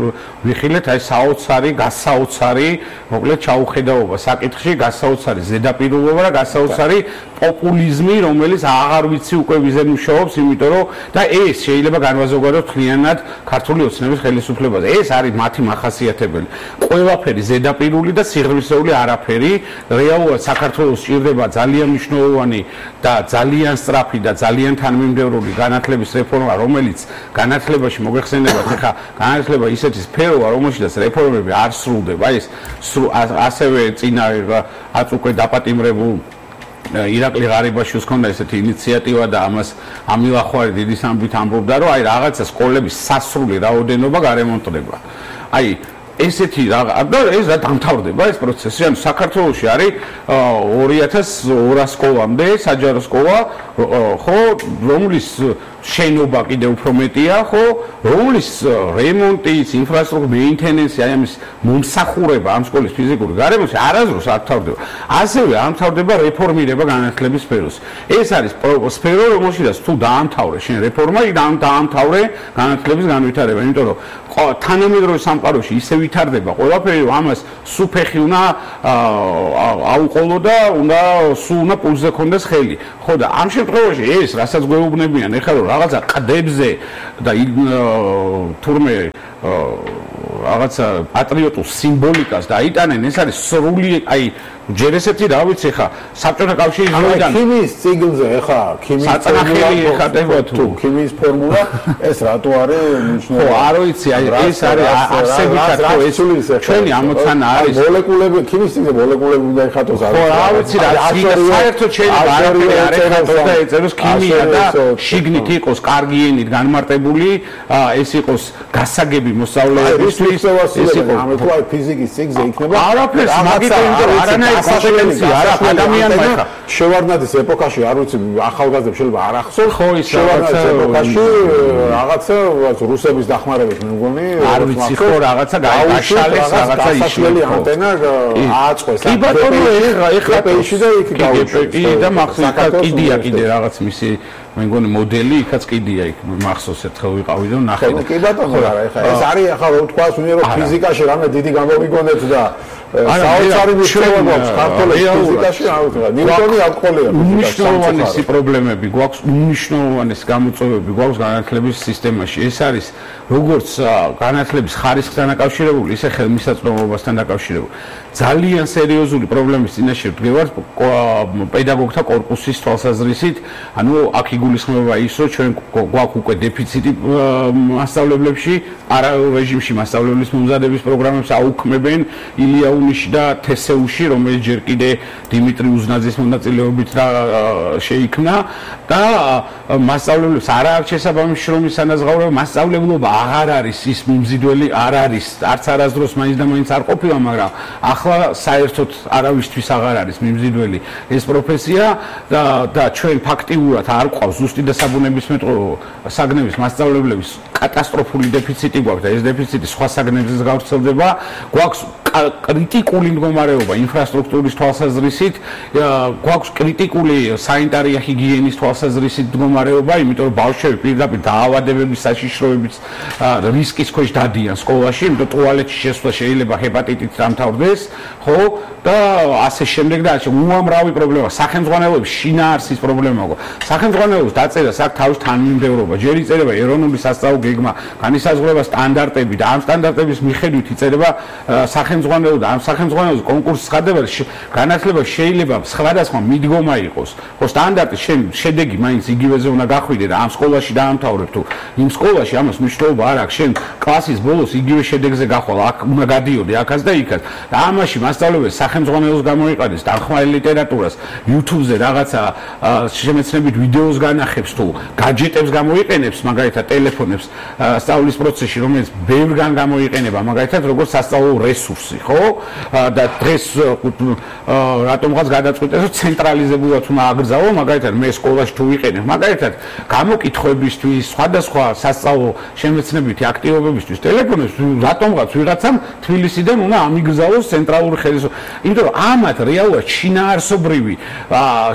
ვიხილეთ აი გასაოცარი, მოკლედ ჩაუხედაობა საკითხში, გასაოცარი ზედაპირულობა და გასაოცარი პოპულიზმი, რომელიც აღარ ვიცი უკვე ვიზე მუშაობს, იმიტომ რომ და ეს შეიძლება განვაზოგადოთ მთლიანად ქართული ოცნების ხელისუფლებაზე. ეს არის მათი მახასიათებელი. ყველაფერი ზედაპირული და სიღრმისეული არაფერი. რეალურად საქართველოს სჭირდება ძალიან მნიშვნელოვანი და ძალიან სწრაფი და ძალიან თანმიმდევრული განათლების რეფორმა, რომელიც განათლებაში მოგეხსენებათ, ხა განათლება ისეთი სფეროა, რომელშიც რეფორმები არ სრულდება. ეს ასევე წინა აც უკვე დაპატიმრებულ ირაკლი ღარიბაშვილს ჰქონდა ესეთი ინიციატივა და ამას ამილახვარი დიდი სამბით ამბობდა, რომ აი რაღაცა სკოლების სასრული რაოდენობა გარემონტდება. აი ესეთი და ეს რა დამთავრდება ეს პროცესი. ანუ საქართველოში არის 2200 სკოლამდე საჯარო სკოლა, ხო, რომლის შენობა კიდე უფრო მეტია, ხო, რომლის რემონტის, ინფრასტრუქტურის მეინტენენსი, აი ამის მომსახურება ამ სკოლის ფიზიკური გარემოში არასდროს არ თავდება. ასევე არ თავდება რეფორმირება განათლების სფეროს. ეს არის სფერო, რომელშიც თუ დაამთავრე შენ რეფორმა, დაამთავრე განათლების განვითარება, იმიტომ რომ თანამედროვე სამყაროში ისე ვითარდება ყველაფერი, ამას სუფეხი უნდა აუყოლო და უნდა პულზე ქონდეს ხელი. ხო და ამ შემთხვევაში ეს რასაც გვეუბნებიან ეხლა რომ რაღაცა ყდებზე და თურმე რაღაცა პატრიოტულ სიმბოლიკას დაიტანენ, ეს არის სრული, აი ჯერ ესეთი რა ვიცი ხა საბჭოთა კავშირის დროიდან ქიმიის ციკლზე ხა ქიმიის საწნახელი ხდება თუ ქიმიის ფორმულა ეს რატო არის მნიშვნელოვანი? ხო, არ ვიცი, აი ეს არის არსებითად ხო ეს ჩვენი ამოცანა არის მოლეკულები ქიმიის ციკლზე მოლეკულები უნდა ეხატოს არის. ხო, რა ვიცი რა საერთოდ შეიძლება არაფერი არ ეხატოს და ეწეროს ქიმია და შიგნით იყოს კარგი ენით განმარტებული, ეს იყოს გასაგები მოსწავლეებისთვის, ეს იყოს ამეთქვა ფიზიკის ციკლზე იქნება არაფერს მაგით არანაირი კომპეტენცია არ აქვს ადამიანმა ხა შევარდნაძის ეპოქაში არ ვიცი ახალგაზრდებს შეიძლება არ ახსოვს ხო ის შევარდნაძის ეპოქაში რაღაცა რუსების დახმარებით მე მგონი არ ვიცი ხო რაღაცა გააშალეს რაღაცა ისლელი ანტენა ააწყვეს კი ბატონო ეხლა პეიში და იქ გავუშვი და მახსოვს კიდია კიდე რაღაც მისი მე მგონი მოდელი იქაც კიდია იქ მახსოვს ერთხელ ვიყავი და ნახე კი ბატონო არა ეხლა ეს არის ახლა რო თქვას უნირო ფიზიკაში რამე დიდი გამოვიგონეთ და საოცარი მიღწევა გვაქვს ქართულის ფიზიკაში, ნიუტონი აკოლია უნიშნულოვანესი პრობლემები გვაქვს, უნიშნულოვანესი გამოწვევები გვაქვს განათლების სისტემაში. ეს არის როგორც განათლების ხარისხთან დაკავშირებული, ისე ხელმისაწვდომობასთან დაკავშირებული. ძალიან სერიოზული პრობლემის წინაშე ვდგევართ პედაგოგთა კორპუსის თვალსაზრისით, ანუ აქ იგულისხმება ის, რომ ჩვენ გვაქვს უკვე დეფიციტი მასწავლებლებში, პარალელ რეჟიმში მასწავლებლის მომზადების პროგრამებს აუქმებენ ილია უნიში და თესეუში, რომელიც ჯერ კიდე დიმიტრი უზნაძის მონაწილეობით შეიქმნა და მასწავლებლებს არ აქვს შესაბამისი შრომის სანაზღაურება, მასწავლებლობა აღარ არის ის მიმზიდველი, არ არის, არც არასდროს მაინც და მაინც არ ყოფილა, მაგრამ ახლა საერთოდ არავისთვის აღარ არის მიმზიდველი ეს პროფესია და ჩვენ ფაქტიურად არ გვყავს ზუსტი და საბუნებისმეტყველო საგნების მასწავლებლების კატასტროფული დეფიციტი გვაქვს და ეს დეფიციტი სხვა საგნებზეც გავრცელდება, გვაქვს კრიტიკული მდგომარეობა ინფრასტრუქტურის თვალსაზრისით, გვაქვს კრიტიკული სანიტარია ჰიგიენის თვალსაზრისით მდგომარეობა, იმიტომ რომ ბავშვები პირდაპირ დაავადებების საშიშროების რისკის ქვეშ დადიან სკოლაში, იმიტომ რომ ტუალეტში შესვლა შეიძლება ჰეპატიტით დამთავრდეს, ხო? და ასე შემდეგ და ასე უამრავი პრობლემა, სახელმძღვანელოების შინაარსის პრობლემა გვაქვს. სახელმძღვანელოს დაწერა აქ თავის თანმიმდევრობა, ჯერ იწერება ეროვნული სასწავლო გეგმა, განისაზღვრება სტანდარტები და ამ სტანდარტების მიხედვით იწერება სახელმძღვანელო და ამ სახელმძღვანელოს კონკურსის ხდება განათლება შეიძლება სხვადასხვა მიდგომა იყოს. ხო სტანდარტის შედეგი მაინც იგივეზე უნდა გახვიდე და ამ სკოლაში დაამთავრებ თუ იმ სკოლაში ამას მნიშვნელობა არ აქვს. შენ კლასის ბოლოს იგივე შედეგზე გახვალ, აქ უნდა გადიოდე აქაც და იქაც. და ამაში მასწავლებელი სახელმძღვანელოს გამოიყენებს დახმარებულ ლიტერატურას, YouTube-ზე რაღაცა შემეცნებით ვიდეოს განახებს თუ гаджеტებს გამოიყენებს, მაგალითად ტელეფონებს სწავლის პროცესში, რომელიც ბევრგან გამოიყენება, მაგალითად როგორც სასწავლო რესურსი, ხო? და დღეს რატომღაც გადაწყვიტეს, რომ ცენტრალიზებულად უნდა აგრძელო, მაგალითად მე სკოლაში თუ ვიყენებ, მაგალითად გამოკითხვებისთვის, სხვადასხვა სასწავლო შემეცნებითი აქტივობებისთვის ტელეფონებს რატომღაც ვიღაცამ თბილისიდან უნდა ამიგზავნოს ცენტრალური ხელისუფლება. იმიტომ რომ ამათ რეალურად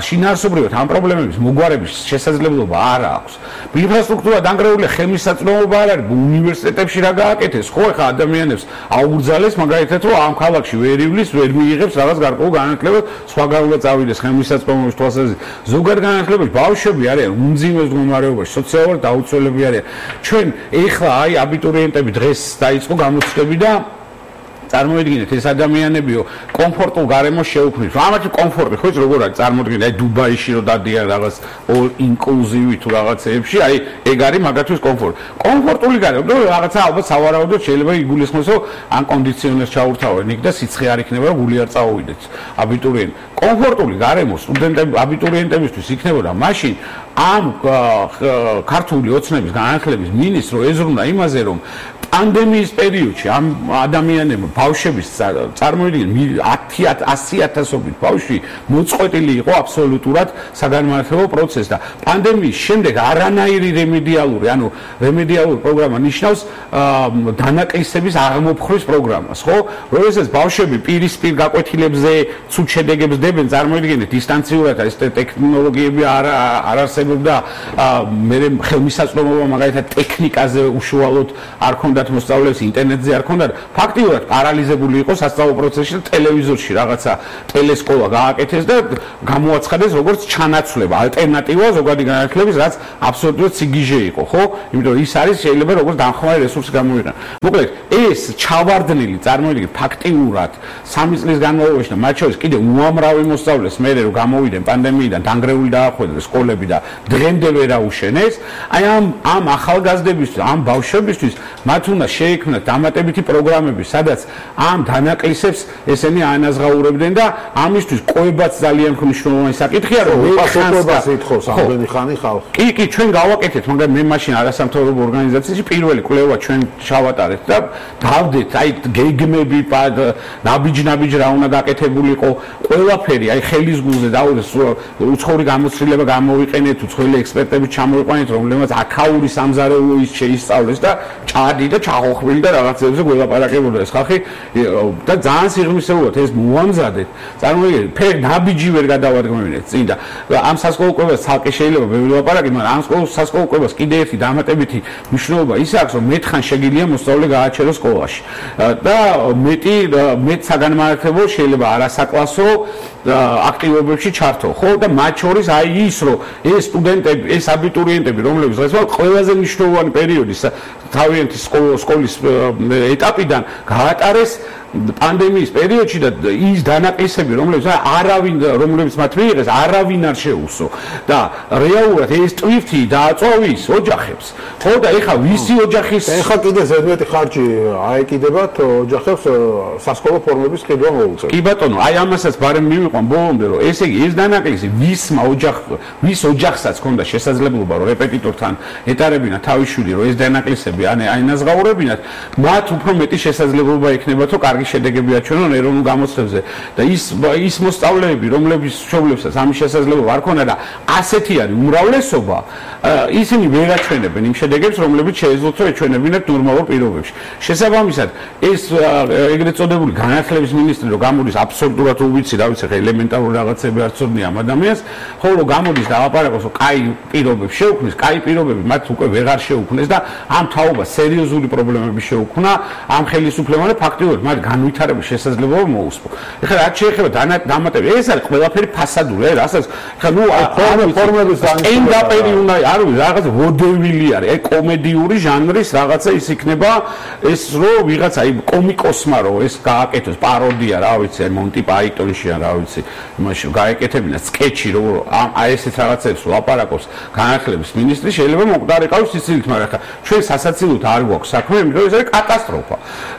შინაარსობრივად ამ პრობლემების მოგვარების შესაძლებლობა არ აქვს. ინფრასტრუქტურა დანგრეულია, ხელმისაწვდომობა არ არის, უნივერსიტეტებში რა გააკეთეს, ხო ეხა ადამიანებს აუგრძალეს მაგალითად რომ ამ ქალაქში ვერ ივლის, ვერ მიიღებს რაღაც გარკვეულ განათლებას, სხვა გარკვეულად წავიდეს ხელმისაწვდომობის თვალსაზრისით. ზოგადად განათლებაში ბავშვები არიან უმძიმეს მდგომარეობაში, სოციალურად დაუცველები არიან. ჩვენ ეხლა აი აბიტურიენტები დღეს დაიწყო გამოცდები და წარმოიდგინეთ ეს ადამიანებიო კომფორტულ გარემოს შეუქმნით. ამათი კომფორტი ხო იცი როგორ არის წარმოიდგინეთ აი დუბაიში რომ დადიან რაღაც all inclusive თუ რაღაცეებში, აი ეგ არის მაგათთვის კომფორტი. კომფორტული გარემო, რომ რაღაცა ალბათ სავარაუდოდ შეიძლება იგულისხმოს, რომ ან კონდიციონერს ჩაურთავენ იქ და სიცხე არ იქნება, რომ გული არ წაუვიდეთ აბიტურიენტ. კომფორტული გარემო სტუდენტები აბიტურიენტებისთვის იქნებოდა მაშინ ამ ქართული ოცნების განათლების მინისტრო ეზრუნდა იმაზე, რომ პანდემიის პერიოდში ამ ადამიანებმა ბავშვების წარმოიდგინე 100,000-ობით ბავშვი მოწყვეტილი იყო აბსოლუტურად საგანმანათლებლო პროცესს და პანდემიის შემდეგ არანაირი რემედიალური პროგრამა ნიშნავს დანაკლისების აღმოფხვის პროგრამას, ხო? როდესაც ბავშვები პირისპირ გაკვეთილებზე ცუდ შედეგებს დებენ, წარმოიდგინეთ დისტანციურად ეს ტექნოლოგიები არ არსებობდა, მე ხელმისაწვდომობა მაგალითად ტექნიკაზე უშუალოდ არ ქონდათ მოსწავლეებს, ინტერნეტზე არ ქონდათ, ფაქტიურად პარალიზებული იყო სასწავლო პროცესი და ტელევიზორში რაღაცა ტელესკოლა გააკეთეს და გამოაცხადეს როგორც ჩანაცვლება, ალტერნატივა ზოგადი განათლების, რაც აბსოლუტურად სიგიჟე იყო, ხო? იმიტომ ის არის შეიძლება როგორც დამხმარე რესურსი გამოიყენო. მოკლედ, ეს ჩავარდნილი წარმოიდგინე ფაქტიურად 3 წლის განმავლობაში და მათ შორის კიდევ უამრავი მოსწავლეს მერე რომ გამოვიდნენ პანდემიიდან, დანგრეული დაახვედრეს სკოლები და დღემდე ვერ აუშენეს, აი ამ ახალგაზრდებისთვის, ამ ბავშვებისთვის მათ უნდა შეექმნათ დამატებითი პროგრამები, სადაც ამ დანაკლისებს ესენი აანაზღაურებდნენ და ამისთვის ყובაც ძალიან მნიშვნელოვანი საკითხია, რომ უპასუხობას ითხოვს ამდენი ხანი ხალხი. კი, ჩვენ გავაკეთეთ, მაგრამ მე მაშინ არასამთავრობო ორგანიზაციაში პირველი კვლევა ჩვენ ჩავატარეთ და დავდეთ, აი გეგმები, ნაბიჯ რა უნდა გაკეთებულიყო, ყველაფერი, აი ხელის გულზე დავდეს, უცხოური გამოცდილება გამოვიყენეთ, უცხოელი ექსპერტები ჩამოვიყვანეთ, რომლებმაც აქაური სამზარეულო ის შეისწავლეს და ჭადი და ჩახოხბილი და რაღაცებზე გველაპარაკებოდა ეს ხალხი და ძალიან სიღრმისეულად ეს მოამზადეთ. წარმოიდგინეთ, ფერ ნაბიჯი ვერ გადავადგმევინეთ წინ და ამ სასკოლო კვებას ცალკე შეიძლება ბევრი ლაპარაკი, მაგრამ ამ სასკოლო კვებას კიდე ერთი დამატებითი მნიშვნელობა ის აქვს, რომ მეტხან შეგიძლია მოსწავლე გააჩეროს სკოლაში და მეტ საგანმანათლებლო შეიძლება არასაკლასო აქტივობებში ჩართო, ხო? და მათ შორის აი ის, რომ ეს სტუდენტები, ეს აბიტურიენტები, რომლებიც დღეს ყველაზე მნიშვნელოვანი პერიოდი თავიანთი სკოლის ეტაპიდან გაატარეს პანდემიის პერიოდში და ის დანაკლისები, რომლებიც მათ მიიღეს, არავინ არ შეუსო და რეალურად ეს ტვირთი დააწვავის ოჯახებს. ხო და ეხლა ვისი ოჯახის ეხლა კიდე ზედმეტი ხარჯი აეკიდებათ ოჯახებს სასკოლო ფორმების ყიდვა მოუწევთ. კი ბატონო, აი ამასაც ბარემ მივიყვან ბოლომდე, რომ ესე იგი ეს დანაკლისი ვის ოჯახსაც ჰქონდა შესაძლებლობა, რომ რეპეტიტორთან ეტარებინა თავის შვილი, რომ ეს დანაკლისები აინაზღაურებინათ, მათ უფრო მეტი შესაძლებლობა ექნებათ, რომ კარგი შედეგები აჩვენონ ეროვნულ გამოცდებზე და ის მოსწავლეები, რომლებიც მშობლებსაც ამის შესაძლებლობა არ ქონდა და ასეთი არის უმრავლესობა, ისინი ვერ აჩვენებენ იმ შედეგებს, რომლებიც შეეძლოთ რომ ეჩვენებინათ ნორმალურ პირობებში. შესაბამისად, ეს ეგრეთ წოდებული განათლების მინისტრი რომ გამოდის აბსოლუტურად უვიცი, რა ვიცი, ელემენტარული რაღაცები არ ცოდნია ამ ადამიანს, ხოლო გამოდის და აპარაკოს, რომ კაი პირობებს შეუქმნის, კაი პირობები მათ უკვე ვეღარ შეუქმნეს და ამ თაობას სერიოზული პრობლემები შეუქმნა, ამ ხელისუფლებამ და ფაქტიურად მათ განვითარების შესაძლებლობა მოუსპო. ეხლა რაც შეეხება დამატებით, ეს არის ყველაფერი ფასადური, რასაც ეხლა ფორმების სტენდაპერი უნდა არ ვიცი, რაღაცა ვოდევილი არის, აი კომედიური ჟანრის რაღაცა ის იქნება, ეს რომ ვიღაცა აი კომიკოსმა რომ ეს გააკეთოს პაროდია, რა ვიცი, აი მონტი პაიტონში ან რა ვიცი, იმაში გაეკეთებინა სკეჩი რომ აი ესეთ რაღაცებს ლაპარაკობს განათლების მინისტრი, შეიძლება მოკდარიყავს სიცილით, მაგრამ ეხლა ჩვენ სასაცილოდ არ გვაქვს საქმე, იმიტომ ეს არის კატასტროფა.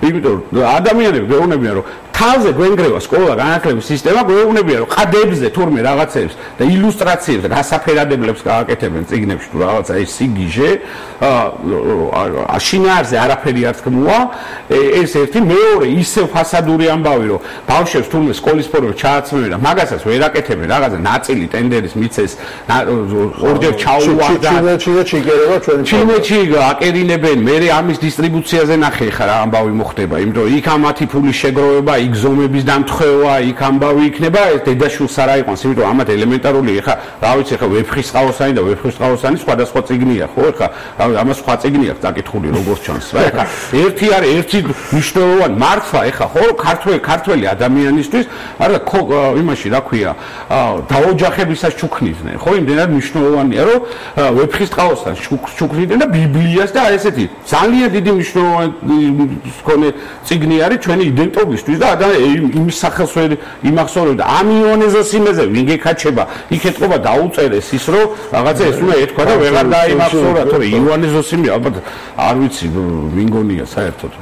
იმიტომ ადამიანები გვეუბნებიან რომ თავზე გვენგრევა სკოლა განათლების სისტემა, გვეუბნებიან რომ ყადებზე თურმე რაღაცებს და ილუსტრაციებს და გასაფერადებლებს გააკეთებენ წიგნებში თუ რაღაცა ეს სიგიჟე, შინაარზე არაფერი არ თქმუა, ეს ერთი, მეორე ისევ ფასადური ამბავი რომ ბავშვებს თურმე სკოლის ფორმებს ჩააცმევენ და მაგასაც ვერ აკეთებენ, რაღაცა ნაწილი ტენდერის მიცეს, ორჯერ ჩაუვარდათ, ჩინეთში აკერინებენ, მე ამის დისტრიბუციაზე ნახე ხა რა ამბავი მოხდება, იმიტომ იქ ამათი ფულის შეგროვება, იქ ზომების დამთხევა, იქ ამბავი იქნება, ეს დედაშვილს არ აიყვანს, იმიტომ ამათ ელემენტარული ხა, რა ვიცი, ხა ვეფხისტყაოსანი და ვეფხისტყაოსანი სხვადასხვა წიგნია, ხო, ხა, ამას სხვა წიგნი აქვს დაკითხული როგორც ჩანს, რა, ხა, ერთი მნიშვნელოვანი მართვა, ხა, ხო, ქართველი ადამიანისთვის, არა, იმაში რა ქვია, დაოჯახებისას ჩუქნიდნენ, ხო, იმდენად მნიშვნელოვანია, რომ ვეფხისტყაოსთან ჩუქნიდნენ და ბიბლიას და ესეთი ძალიან დიდი მნიშვნელოვანი მქონე წიგნი არის ჩვენი იდენტობისთვის და და იმის სახელს იმახსოვრებდა ამ ივანე ზოსიმეზე ვინ გეკაჩება იქ ეთყობა დაუწერეს ის რომ რაღაცა ეს უნდა ეთქვა და ვეღარ დაიმახსოვრა თორე ივანე ზოსიმე ალბათ არ ვიცი ვინ გონია საერთოდ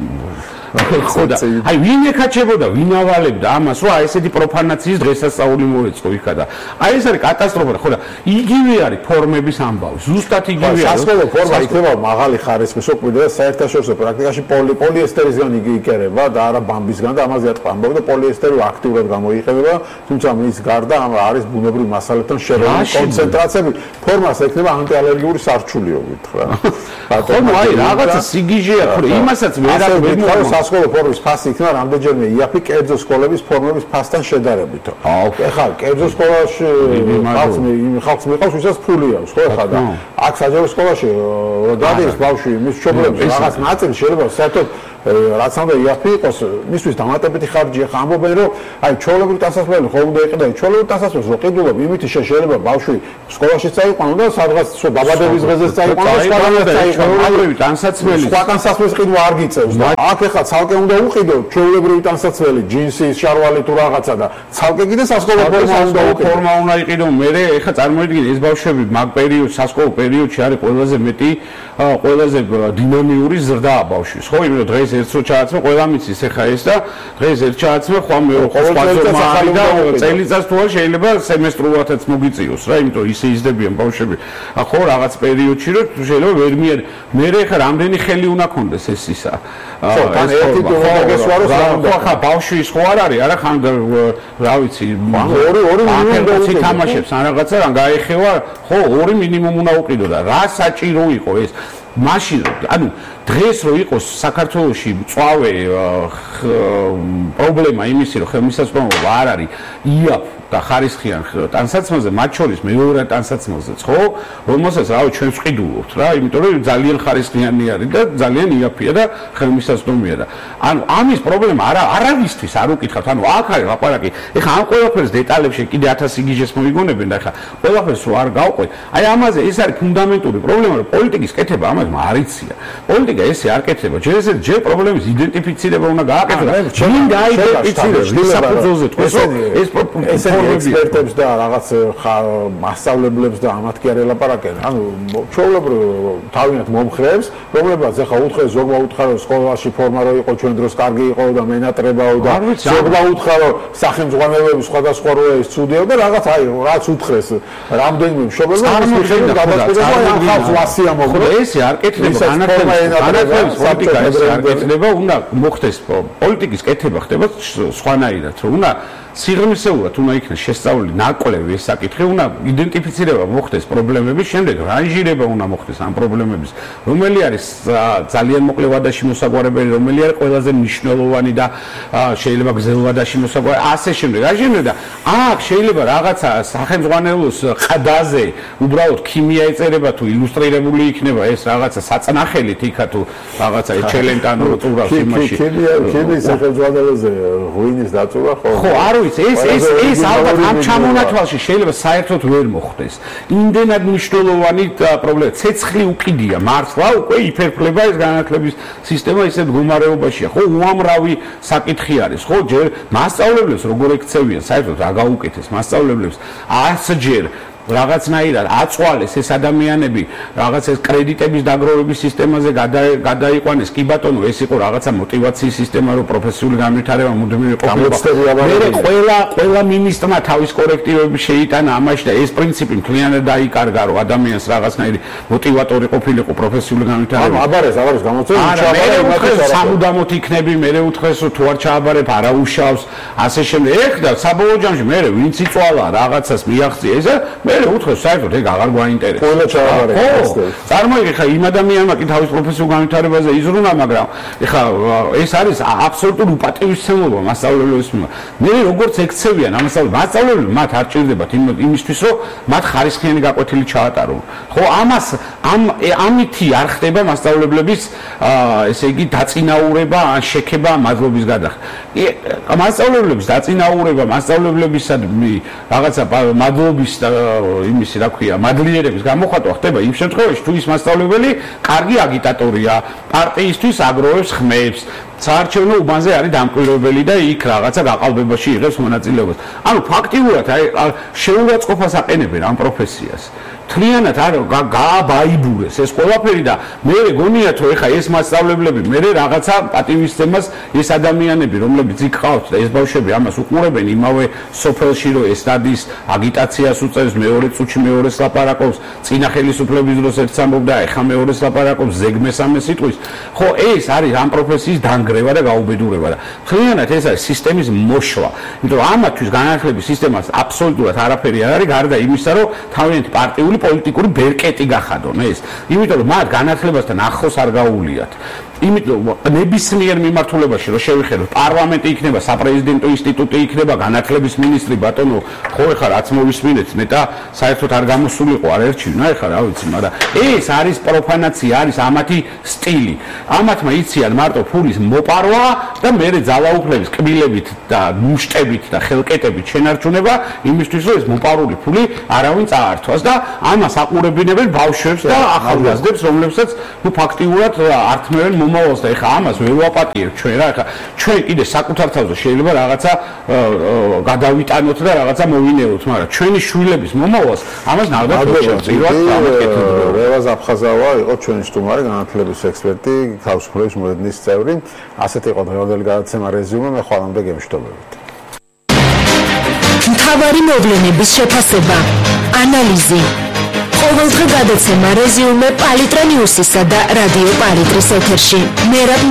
ხოდა აი ვინ ეკაჩებოდა ვინ ავალებდა ამას რომ აი ესეთი პროფანაციის დღესასწაული მოეწყო იქა და აი ეს არის კატასტროფა ხოდა იგივე არის ფორმების ამბავი ზუსტად იგივეა სასწავლო ფორმა იქნება მაღალი ხარისხის რო კვირდა საერთაშორისო პრაქტიკაში პოლიესტერისგან იკერება და არა ბამბისგან და ამაზე ატყვა ამბავი და პოლიესტერი აქტიურად გამოიყენება თუმცა მის გარდა არის ბუნებრივ მასალებთან შერეული კონცენტრაციები ფორმას ექნება ანტიალერგიული სარჩულიობით რა ბატონო აი რაღაცა სიგიჟეა ხო იმასაც ვერ სასკოლო ფორმის ფასი იქნება რამდენჯერმე იაფი კერძო სკოლების ფორმების ფასთან შედარებით. ეხლა კერძო სკოლაში ხალხს მიყავს ვისაც ფული აქვს, ხო ეხლა და აქ საჯარო სკოლაში დადის ბავშვი მის მშობლებს რაღაც ნაწილი შეიძლება საერთოდ რაც უნდა იაფი იყოს, მისთვის დამატებითი ხარჯია, ხა ამბობენ რომ აი ჩვეულებრივ დასასრულებელი ხომ უნდა იყიდე, ჩვეულებრივ დასასრულს რო ყიდულობ, იმით შეიძლება ბავშვი სკოლაში წაიყვანო და სადღაც დაბადების დღეზე წაიყვანო, სხვაგანაც წაიყვანო, ჩვეულებრივ დასასრულებელი, სხვა დასასრულის ყიდვა არ გიწევს და აქ ეხლა ცალკე უნდა უყიდო ჩვეულებრივი დასასრულებელი, ჯინსის, შარვალი თუ რაღაცა და ცალკე კიდე სასკოლო ფორმა უნდა იყიდო, მე ეხლა წარმოიდგინე ეს ბავშვები მაგ პერიოდში, სასკოლო პერიოდში არის ყველაზე მეტი, ყველაზე დინამიური ზრდა ბავშვის, ხო, იმიტომ რომ დღეს ერთსო ჩააცმე, ყველა მიცის ახლა ეს და დღეს ერთ ჩააცმე, ხომ ყოველ და წელიწადს თუ შეიძლება სემესტრულადაც მოგიწიოს რა, იმიტომ ისე იზრდებიან ბავშვები. ხო, რაღაც პერიოდში რომ შეიძლება ვერ მე ახლა რამდენი ხელი უნდა კონდეს ეს ისა. ხო, თან ერთი დაგესვარო ხა ბავშვი ხო არ არის, არა ხან რა ვიცი, ორი მინიმუმი თამაშებს ან რაღაცა რან გაეხევა, ხო, ორი მინიმუმ უნდა უყიდო და რა საჭირო იყო ეს მაშინ ანუ დღეს რო იყოს საქართველოში მწვავე პრობლემა იმისი რომ ხელმისაწვდომობა არ არის იაფ და ხარისხიან ტანსაცმელზე მათ შორის მეორე ტანსაცმელზეც ხო რომელსაც რავი ჩვენ ვყიდულობთ რა იმიტომ რომ ძალიან ხარისხიანი არის და ძალიან იაფია და ხელმისაწვდომია და ანუ ამის პრობლემა არავისთვის არ უკითხავთ ანუ აქ არის ლაპარაკი ეხლა ამ ყველაფერს დეტალებში კიდე 1000 იგიჟეს მოიგონებენ და ეხლა ყველაფერს რო არ გავყვეთ აი ამაზე ეს არის ფუნდამენტური პრობლემა რომ პოლიტიკის კეთება ამას არიცია პოლიტიკა ესე არ კეთდება ჯერ პრობლემის იდენტიფიცირება უნდა გააკეთოს ვინ გაიდენტიფიცირებს საფუძველზე თქვენ ეს ექსპერტებს და რაღაც მასწავლებლებს და ამათ კი არ ელაპარაკენ. ანუ ჩვეულებრივ თავიანთ მომხრეებს, რომლებსაც ახლა უთხრეს ზოგმა უთხრა რომ სკოლაში ფორმა რო იყო ჩვენ დროს კარგი იყო და მენატრებაო და ზოგმა უთხრა რომ სახელმძღვანელოები სხვადასხვა რო ეს ცუდიო და რაღაც აი რაც უთხრეს რამდენიმე მშობელმა ის მიხედვით გადაწყვეტა ამ ხალხს ვასია მოგო. ესე არ კეთდება განათლების პოლიტიკა ესე არ კეთდება, უნდა მოხდეს პოლიტიკის კეთება ხდება სხვანაირად, რომ უნდა სიღრმისეულად უნდა იქნას შესწავლილი ნაკვლევი ეს საკითხი, უნდა იდენტიფიცირება მოხდეს პრობლემების, შემდეგ რანჟირება უნდა მოხდეს ამ პრობლემების, რომელი არის ძალიან მოკლე ვადაში მოსაგვარებელი, რომელი არის ყველაზე მნიშვნელოვანი და შეიძლება გრძელ ვადაში მოსაგვარებელი, ასე შემდეგ. და აქ შეიძლება რაღაცა სახელმძღვანელოს ყდაზე უბრალოდ ქიმია ეწერება თუ ილუსტრირებული იქნება ეს რაღაცა საწნახელით იქა თუ რაღაცა ჩელენტანო წურავს იმაში. ქიმიის სახელმძღვანელოზე ღვინის დაწურვა ხო? ხო, არ ეს ალბათ ამ ჩამონათვალში შეიძლება საერთოდ ვერ მოხდეს. იმდენად მნიშვნელოვანი პრობლემა, ცეცხლი უკიდია მართლა, უკვე იფერფლება ეს განათლების სისტემა ისეთ მდგომარეობაშია. ხო, უამრავი საკითხი არის. ხო, ჯერ მასწავლებლებს როგორ ექცევიან, საერთოდ რა გაუკეთეს მასწავლებლებს 100 ჯერ რაღაცნაირად აწვალეს ეს ადამიანები რაღაც ეს კრედიტების დაგროვების სისტემაზე გადაიყვანეს კი ბატონო ეს იყო რაღაცა мотиваციის სისტემა რომ პროფესიული განვითარება მუდმივი ყოფილიყო მე ყველა მინისტრმა თავის კორექტივები შეიტანა ამაში და ეს პრინციპი მთლიანად დაიკარგა რომ ადამიანს რაღაცნაირი мотиваტორი ყოფილიყო პროფესიული განვითარება აბარეს გამოწევი სამუდამოდ იქნები მე უთხრეს რომ თუ არ ჩააბარებ არა უშავს ასე შემდეგ ეხლა საბოლოო ჯამში მე ვინც იწვალა რაღაცას მიაღწია ეს მე უთხრეს საერთოდ ეგ აღარ გვაინტერესებს. ყველა ჩააბარებს. წარმოიდგინე ხა იმ ადამიანმა კი თავის პროფესიულ განვითარებაზე იზრუნა, მაგრამ ეხა ეს არის აბსოლუტური უპატივისცემობა მასწავლებლების მიმართ. მე როგორც ექცევიან მასწავლებლები მათ არ ჭირდებათ იმისთვის რომ მათ ხარისხიანი გაკვეთილი ჩაატარონ. ხო ამას ამითი არ ხდება მასწავლებლების ესე იგი დაწინაურება ან შექება მადლობის გადახდა. მასწავლებლების დაწინაურება მასწავლებლებისადმი რაღაცა მადლობის იმისი რა ქვია მადლიერების გამოხატვა ხდება იმ შემთხვევაში თუ ის მასწავლებელი კარგი აგიტატორია პარტიისთვის აგროვებს ხმებს საარჩევნო უბანზე არის დამკვირვებელი და იქ რაღაცა გაყალბებაში იღებს მონაწილეობას. ანუ ფაქტიურად შეურაცხყოფას აყენებენ ამ პროფესიას. თლიანად არ გააბაიბურეს ეს ყველაფერი და მე გონიათ რომ ეხა ეს მასწავლებლები მე რაღაცა პატივისცემას ეს ადამიანები რომლებიც იქ ყავთ და ეს ბავშვები ამას უყურებენ იმავე სოფელში რომ ეს დადის აგიტაციას უწევს მეორე წუთში მეორეს ლაპარაკობს წინა ხელისუფლების დროს ერთს ამბობდა ეხა მეორეს ლაპარაკობს ზეგ მესამე სიტყვის ხო ეს არის ამ პროფესიის დანგრევა და გაუბედურება და თლიანად ეს არის სისტემის მოშლა იმიტომ რომ ამათვის განათლების სისტემას აბსოლუტურად არაფერი არ არის გარდა იმისა რომ თავიანთი პარტიული პოლიტიკური ბერკეტი გახადონ ეს. იმიტომ რომ მათ განათლებასთან ახლოს არ გაუვლიათ. იმიტომ ნებისმიერ მიმართულებაში რომ შევიხედოთ, პარლამენტი იქნება, საპრეზიდენტო ინსტიტუტი იქნება, განათლების მინისტრი ბატონო, ხო ეხლა რაც მოვისმინეთ, მეტა საერთოდ არ გამოსულიყო, არ ერჩივნა, ეხლა რა ვიცი, მაგრამ ეს არის პროფანაცია, არის ამათი სტილი. ამათმა იციან მარტო ფულის მოპარვა და მერე ძალაუფლების კბილებით და მუშტებით და ხელკეტებით შენარჩუნება იმისთვის, რომ ეს მოპარული ფული არავინ წაართვას და ამას აყურებინებენ ბავშვებს და ახალგაზრდებს, რომლებსაც ნუ ფაქტიურად ართმევენ მომავალს და ეხა ამას ვერ ვაპატიებთ ჩვენ რა ეხა ჩვენ კიდე საკუთარ თავზე შეიძლება რაღაცა გადავიტანოთ და რაღაცა მოვინეროთ მაგრამ ჩვენი შვილების მომავალს ამას ნახდათ პირველად დამოკიდებული რევაზ აფხაზავა იყო ჩვენი სტუმარი განათლების ექსპერტი თავისუფლების მოედნის წევრი ასეთი იყო დღევანდელი გადაცემა რეზიუმე მე ხვალამდე გემშვიდობებით მთავარი მოვლენების შეფასება ანალიზი ყოველდღე გადაცემა რეზიუმე პალიტრა ნიუსისა და რადიო პალიტრის ეთერში მერაბ